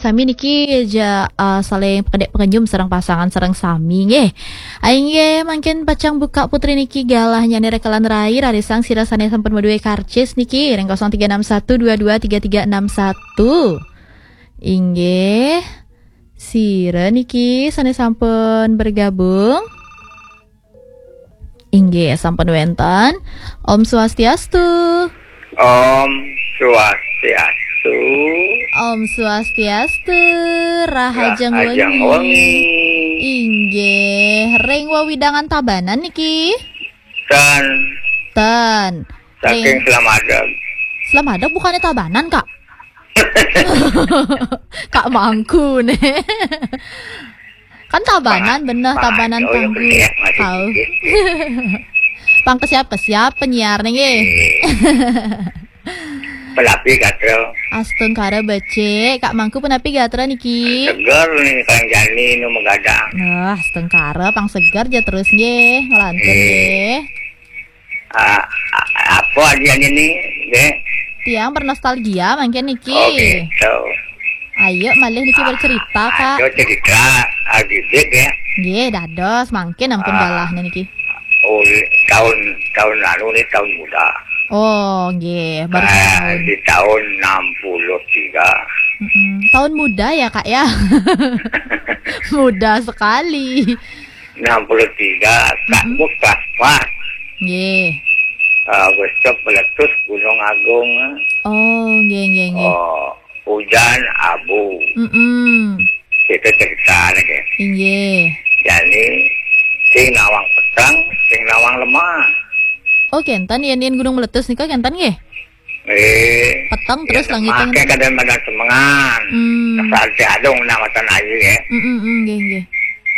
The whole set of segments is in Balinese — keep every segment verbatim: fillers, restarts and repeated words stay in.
Sami niki ja, ah, saling pakedek pakenyum sareng pasangan sareng sami nggih. Inggih, mangkin pacang buka Putri niki galah nyanyi rekelan rai, rarisang sira sane sampun madue karcis niki ring kosong tiga enam satu dua dua tiga tiga enam satu. Inggih. Sira niki sane sampun bergabung. Inggih, sampun wenten. Om Swastiastu. Om Swastiastu. Om Swastiastu. Rahajeng Rahajeng wengi. Wengi. Inggih, ring wewidangan Tabanan niki. Ten. Ten. Saking Ring Slamadeg. Slamadeg bukannya Tabanan, Kak? Kak Mangku nih. Kan Tabanan, Pang-, bener, Tabanan oh, iya, Tanggu. Bener, masih tahu dikit. Pang kesiap-kesiap penyiar nih, nggih. Iya. Penapi gatel. Astungkara becik, Kak Mangku penapi gatra niki? Seger nih, kalian jani nu megadang. Wah, astungkara, pang seger ja terus nggih, ngelantur iya. Nggih. Ah, a-, apa adian ini, Dek? Tiang bernostalgia mangkin niki. Oh, gitu. Ayo, malih niki bercerita, Kak. Ada cerita, ah, Bibik, ya. Nggih, dados, mangkin ampun ah, galah niki. Oh, tahun, tahun lalu nih, tahun muda. Oh, nggih, baru ah, tahun. Di tahun enam puluh tiga. Mm-mm. Tahun muda ya, Kak, ya? Muda sekali. Enam puluh tiga, Kak, mm-mm. Bos kelas empat. Nggih. Ah, bos stop meletus Gunung Agung. Oh, nggih, nggih, nggih. Oh, hujan abu. Mm-mm. Kita cerita lagi. Nggih. Jadi, sing nawang peteng, sing nawang lemah. Oh, kenten, yen, yen gunung meletus nika kenten nggih? Eh, peteng ya, terus langit make kadang pada semengan. Hmm. Saat si adung nak matan air ya. Mm, mm, mm, nggih, nggih.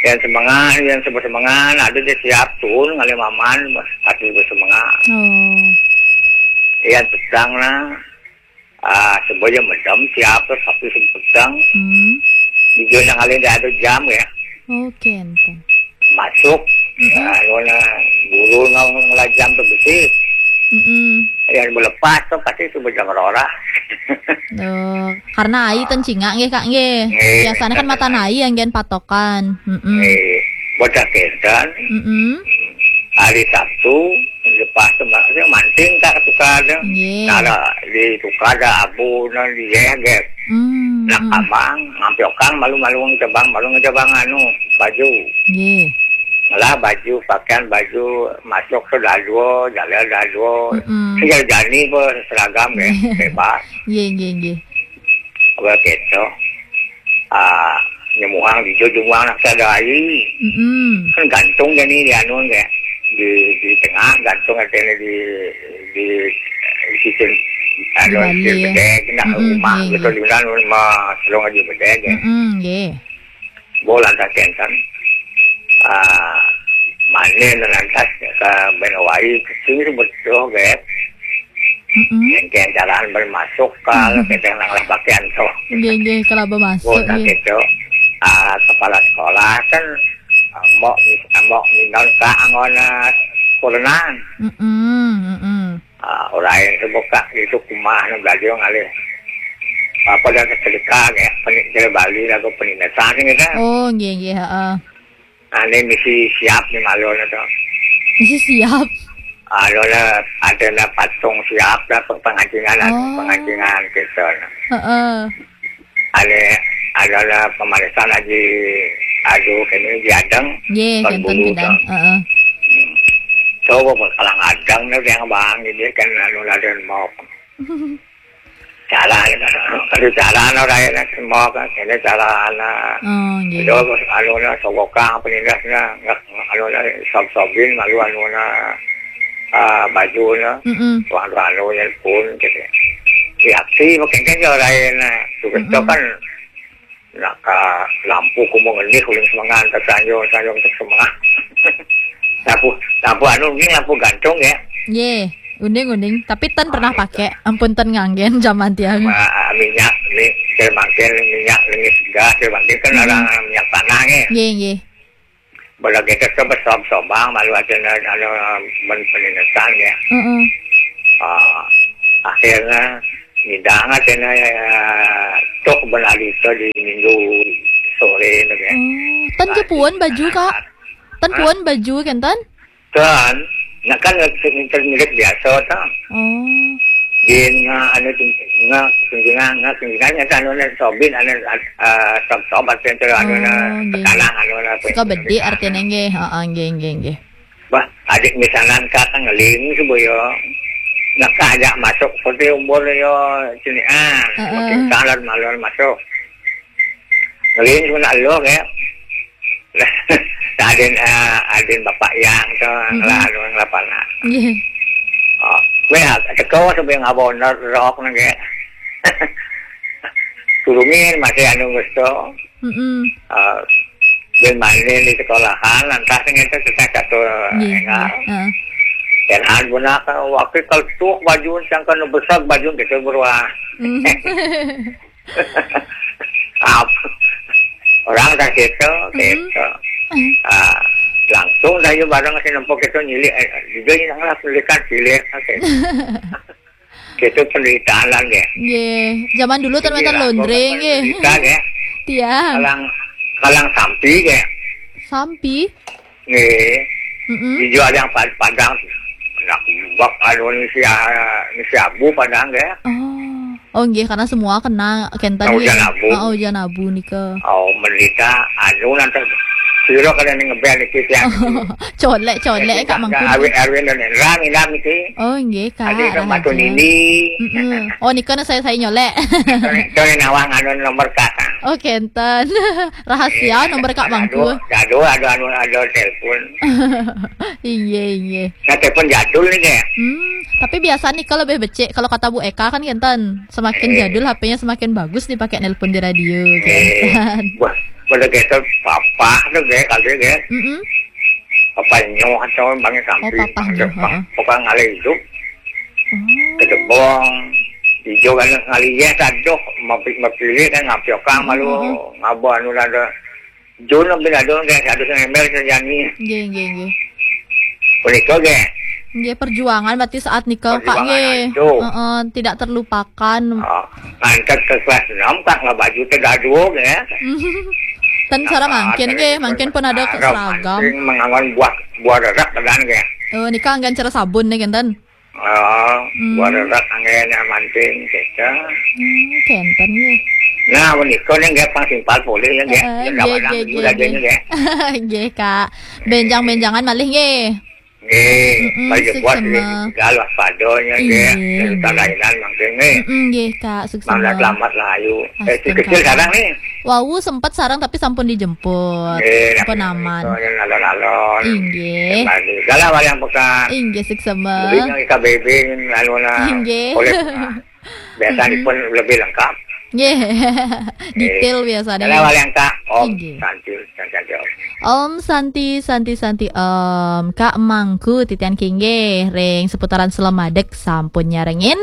Yang semengan, yang sebut semengan, ada dia siap turun ngalih maman, tapi bersemengan. Oh. Yang petang lah, ah, sebab yang medam siap, tapi sebut petang. Hmm. Di zona ngalih dia ada jam ya. Oh, kenten. Masuk, mm-mm. Ya, anu na, guru na ngelajam tu besi. Mm-mm. Yang melepas tu pasti tu bejang rora. Oh, karena ai ten cingak nggih, Kak, nggih. Nggih. Biasanya kan matan ai yang gen patokan. Mm-mm. Nggih. Bocah kenten. Mm-mm. Hari Sabtu, lepas tu maksudnya manting tak tukar tu. Nggih. Nara di tukar dah abu na di eh, nggih. Hmm, nak hmm. Abang, ngampi okang malu-malu ngejabang, malu ngejabang anu, baju. Nggih. Ngelah baju, pakaian baju, masuk tu dadua, jalan dadua. Mm-mm. Tinggal jani pun seragam ya, nggih. Bebas. Nggih, nggih, nggih. Apa gitu? Ah, nyemuang di jujung uang nak sadai. Mm-mm. Kan gantung jani di anu ya. Di, di tengah gantung katanya di, di, di situ. Anu, di balik. Di bedeg, nak mm-mm, rumah nggih, gitu, nggih. Di mana rumah selong di bedeg ya. Mm-mm, nggih. Bola tak kenten. Ah, mana na lantas ke Benawai, ke sini tu betul, Beb. Mm-mm. Yang kayak jalan bermasuk, kalau mm-mm. Kita nang lah pakaian tu. Nggih, nggih, kalau bermasuk, bola nggih. Gitu. Ah, kepala sekolah kan, ah, mbok, mbok minta ke anggona kurenan. Mm-mm, mm-mm. Ah, orang yang terbuka itu kumah, nang belajar ngalih. Apa dah ketika, ya, penik-, Bali lagu penindasan gitu. Oh, nggih, nggih, heeh. Ane misi siap ni malu na tu. Misi siap? Anu na, ada na patung siap na, pe-, pengancingan, anu, oh. Pengancingan kita na. Heeh. Ane, anu na pemarisan aja, aduh, kini di adang, nggih, kan kenten bulu bidang. Tu. Heeh. Hmm. Coba pun kalang adang na yang bang, ini kan anu na dan mau. Cara, aduh, cara na raya na semua kan, ini cara na. Oh, nggih. Itu, anu na, sogokang, penindas na, nggak, anu na, sob-sobin, malu anu na, ah, baju na. Mm-mm. Tuan, tuan, anu na pun, gitu. Reaksi, makin kan, orang lain na. Tugas mm-mm. Tu kan, nak ka lampu ku mengenih uling semengan, tak sanjung, sanjung tak semengan. Lampu, lampu anu ni lampu gantung ya. Nggih, uning, uning. Tapi ten pernah pakai, ampun ten nganggen zaman tiang. Ma-, minyak ni, saya makan minyak ni gas, saya makan kan mm-mm. Ada minyak tanah ni. Nggih, nggih. Bala kita tu besob-sobang, malu ada na-, ada men-, penindasan ya. Mm-mm. Ah, akhirnya Ngidangan sih na, ya, tok benari to di minggu sore na, ya. Oh, ten kepuon baju, Kak? Ten kepuon baju kenten? Ten, nah kan ngirit biasa to. Oh. Din nga anu, nga tunjungan, nga tunjungan, nya anu na sobin, anu, ah, sob-sob, anu na, oh, nggih, petalang, anu na, suka bedi artinya, nggih. Heeh, nggih, nggih, nggih. Bah, adik misanan ka ngeling suba ya. Nak ajak masuk seperti umur ya, sini, ah, heeh, makin salar malon masuk. Ngeling suba nak lo, ya. Adin, ah, adin bapak yang to, mhm, lah, anu, ngelapanan. Nggih. Oh, weh, teko sampai ngabon rok nang, ya. Turungin masih anu gusto. Mm-mm. Ah, bin main di sekolahan, lantas ngente kita satu, nggih, enggak, nggih. Heeh. Dan han guna ka waktu kalau tuh baju, yang kan besar baju gitu berubah. Mm. Ap-, orang dah gitu, mm-mm, gitu. Mm. Ah, langsung dah yuk bareng si nempok itu nyilik, eh, juga yang lah pelikan silik, gitu. Gitu penderitaan lah, nggih. Nggih, zaman dulu ten wenten laundry, nggih. Penderitaan, nggih. Tiang. Kalang, kalang sampi, nggih. Sampi? Nggih. Mm-mm. Ijo ada yang pad-, padang. Nak bak anu ni si, ah, ni si abu padang, nggih. Oh. Oh, nggih, karena semua kena kenten, nggih. Hujan abu. Oh, hujan abu nika. Oh, menderita anu nanti sira kena ning ngebel iki tiang. Colek, colek, Kak Mangku. Awit Erwin dan Indra, Indra niki. Oh, nggih, Kak. Adik Kak Matu Nini. Mm-mm. Oh, nika na saya, saya nyolek. Tone nawang anu nomor Kak. Oh, kenten. Rahasia nomor Kak Mangku. Aduh, aduh, aduh, anu, aduh, telepon. Iya, iya. Nah, telepon jadul nih, nggih. Hmm, tapi biasa nika lebih becik. Kalau kata Bu Eka kan kenten, semakin jadul H P-nya semakin bagus dipakai nelpon di radio, kenten. Wah, pada kita papa tuh, nggih, kali, nggih. Mm-mm. Papa nyoh atau bangi sampi. Oh, papa nyoh, heeh. Pokoknya ngalih hidup. Oh. Kedebong, ijo kan ngalih ya, aduh, mapi-, mapilih kan ngapiokang malu, ngabo anu ada. Jun bin Adun, nggih, satu semester sejani. Nggih, nggih, nggih. Punika, nggih. Nggih, perjuangan berarti saat nika, Kak, nggih. Perjuangan itu. Heeh, tidak terlupakan. Oh, ngangkat ke kelas enam, Kak, nggak baju teh dadua, nggih. Ten cara mangkin, nggih, mangkin pun ada seragam. Mangkin mengangon buah, buah rerak, kan, nggih. Oh, nika anggan cara sabun nih, kenten. Oh, hmm. Buat rerak anggen manting, gitu. Hmm, kenten, nggih. Nah, menika nih, nggih, pang simpal polih, ya, nggih. Heeh, nggih, nggih, nggih, nggih. Nggih, Kak. Benjang-benjangan malih, nggih. Nggih, mm-mm, baju buat, nggih, suksema. Sudah lah, padonya, nggih. Iya, nggih. Cerita lainan mangkin, nggih. Mm-mm, nggih, Kak, suksema. Mangga selamat lah, ayu. Eh, si kecil sareng, nih. Wau sempat sareng, tapi sampun dijemput. Nggih, sampun aman. Itu yang alon-alon. Inggih. Kembali. Galah wayang pekan. Inggih, suksema. Lebih yang K B B, anu, nah. Inggih. Oleh, nah. Biasanya pun lebih lengkap. Nggih. Detail biasanya. Galah wayang, Kak. Om, inggih. Santi, Santi, Santi, Om. Om Santi, Santi, Santi, Om. Kak Mangku, titian kinggih. Ring seputaran Selemadeg sampun nyarengin.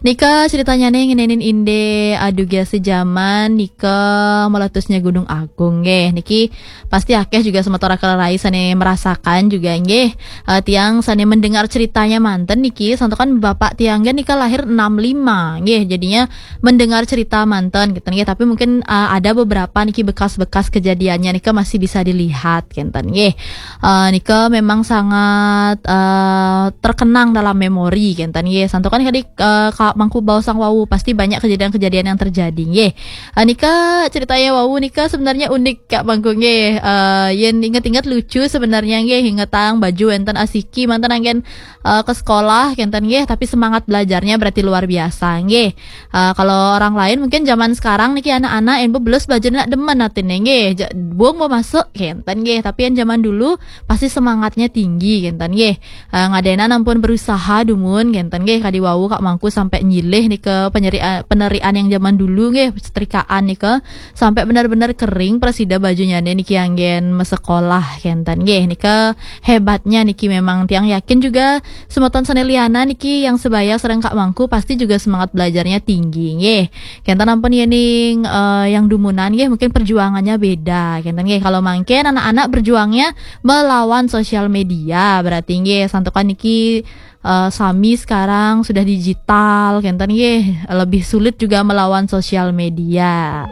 Nika ceritanya nih ngenenin inde aduh gasi zaman nika meletusnya Gunung Agung, nggih. Niki pasti akeh juga semeton kalerai sane merasakan juga, nggih. Eh, tiang sane mendengar ceritanya manten niki, santukan bapak tiang nggih nika lahir enam lima, nggih. Jadinya mendengar cerita manten gitu, nggih. Tapi mungkin, eh, ada beberapa niki bekas-bekas kejadiannya nika masih bisa dilihat, kenten, nggih. Eh, nika memang sangat, eh, terkenang dalam memori, kenten, nggih. Santukan kadi, eh, Kak Mangku baos wau, pasti banyak kejadian-kejadian yang terjadi, nggih. Eh, nika ceritanya wau nika sebenarnya unik, Kak Mangku, nggih. Eh, yen inget-inget lucu sebenarnya, nggih. Ingetang baju enten asiki manten anggen, eh, ke sekolah, kenten, nggih. Tapi semangat belajarnya berarti luar biasa, nggih. Eh, kalau orang lain mungkin zaman sekarang niki anak-anak yen bebelus baju nak demen atine, nggih. Ja-, buang mau masuk, kenten, nggih. Tapi yang zaman dulu pasti semangatnya tinggi, kenten, nggih. Eh, ngadenan ampun berusaha dumun, kenten, nggih. Kadi wau Kak Mangku sampai nyilih nika penyeri-, penerian yang zaman dulu, nggih, setrikaan nika sampai benar-benar kering presida bajunya niki anggen mesekolah, kenten, nggih. Nika hebatnya niki memang tiang yakin juga semeton sane liana niki yang sebaya sareng Kak Mangku pasti juga semangat belajarnya tinggi, nggih. Kenten ampun yening, eh, yang dumunan, nggih, mungkin perjuangannya beda, kenten, nggih. Kalau mangkin anak-anak berjuangnya melawan sosial media. Berarti nggih, santukan niki eh, sami sekarang sudah digital, kenten nggih, lebih sulit juga melawan sosial media.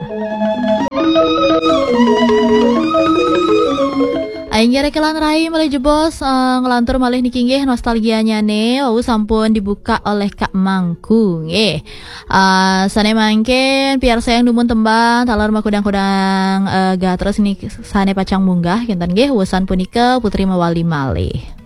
Inggih rek lan rai malih jebos, eh, ngelantur malih niki nggih nostalgianya nih, wau sampun dibuka oleh Kak Mangku nggih. Eh, sane mangkin piarsayang dumun tembang taler makudang-kudang eh, gatres niki sane pacang munggah kenten nggih, wusan punika Putri mawali malih.